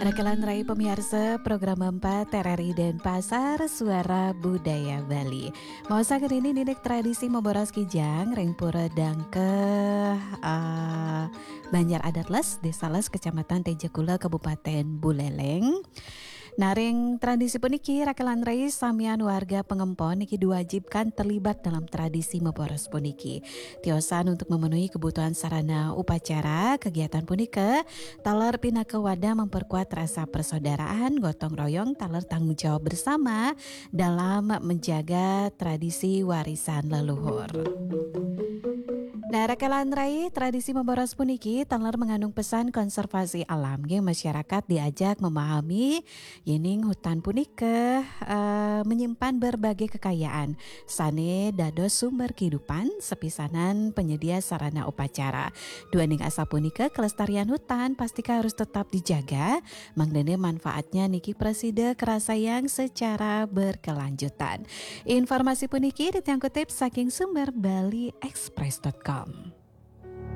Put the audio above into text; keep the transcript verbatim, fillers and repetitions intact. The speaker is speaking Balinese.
Rekelan rai pemiarsa program empat R R I Denpasar, Suara Budaya Bali. Mau sangkan ini nindek tradisi memboros kijang ring pura dangkeh, eh, Banjar Adat Les, Desa Les, Kecamatan Tejakula, Kabupaten Buleleng. Naring tradisi puniki, rekelan rai samian warga pengempon niki diwajibkan terlibat dalam tradisi memboros puniki. Tiosan untuk memenuhi kebutuhan sarana upacara, kegiatan punika taler pinaka wadah memperkuat rasa persaudaraan, gotong royong, taler tanggung jawab bersama dalam menjaga tradisi warisan leluhur. Nah, rekelan rai, tradisi memboros puniki taler mengandung pesan konservasi alam, nggih, masyarakat diajak memahami yening hutan punika, eh, menyimpan berbagai kekayaan sane dados sumber kehidupan, sepisanan penyedia sarana upacara. Duaning asapunika, kelestarian hutan pastika harus tetap dijaga, mangdane manfaatnya niki prasida kerasayang secara berkelanjutan. Informasi puniki titiang kutip saking sumber bali express dot com.